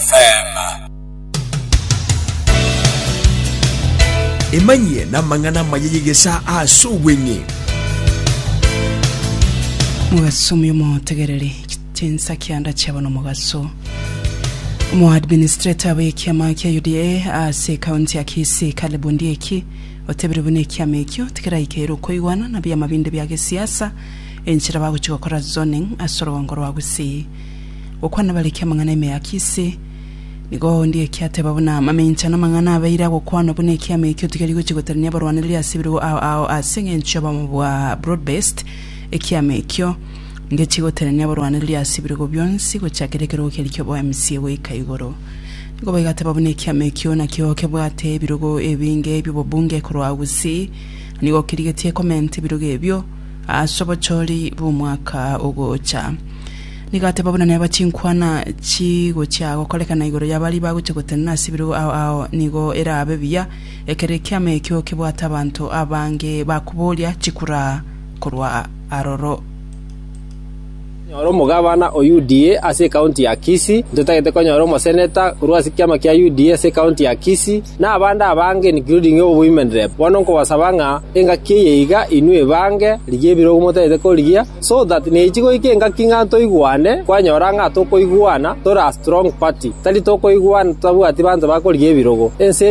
FM. Emanyie namang'ana amaya y'egesaa ase obweng'e. Mogaso omuya omotegereri, chinsa kianda chiabo nomogaso. Omoadministrator bw'ekiama kia UDA ase ekaunti ya Kisii Caleb Ondieki otebire buna ekiama ekio tikeraikeire okoigwana na biama binde bia gesiasa enchera bagochia gokora zoning ase orogongo rwa Gusii. Gokwana bariki amang'ana ime ya Kisii nigo Ondieki ateba buna mamincha namang'ana abeire agokwanwa buna ekiama ekio tikeri gochia gotenenia abarwanereri ase ebirogo ao ao ase eng'encho y'obomo bwa broad based ekiama ekio Ngechi gotenenia abarwanereri ase ebirogo bionsi gochakera ekerogo keria ki'oboMCA goika igoro. Nigo baigateba buna ekiama ekio nakio kebwate ebirogo ebinge bi'obobunge korwa Gusii, na nigo kerigetie komenta ebirogo ebio ase obochori bw'omwaka ogocha. Nigo ateba buna neba chinkwana chigochia gokorekana igoro ya baria bagochia gotenena ase ebirogo ao ao nigo erabe buya ekero ekiama ekio kebwate abanto abange bakoboria chikura korwa aroro. Konyora omogabana o UDA ase ekaunti ya Kisii, ntotagete konyora omoseneta korwa ase ekiama kia UDA ase ekaunti ya Kisii, na abande abange including obowomen rep. Bono nkobasaba ng'a engaki eye iga inwe ebange, rigia ebirogo motagete korigia, so that nechi goika engaki ng'a ntoigwane, kwanyora ng'a tokoigwana tore a strong party, tari tokoigwana totabwati banto bakorigia ebirogo. Ense.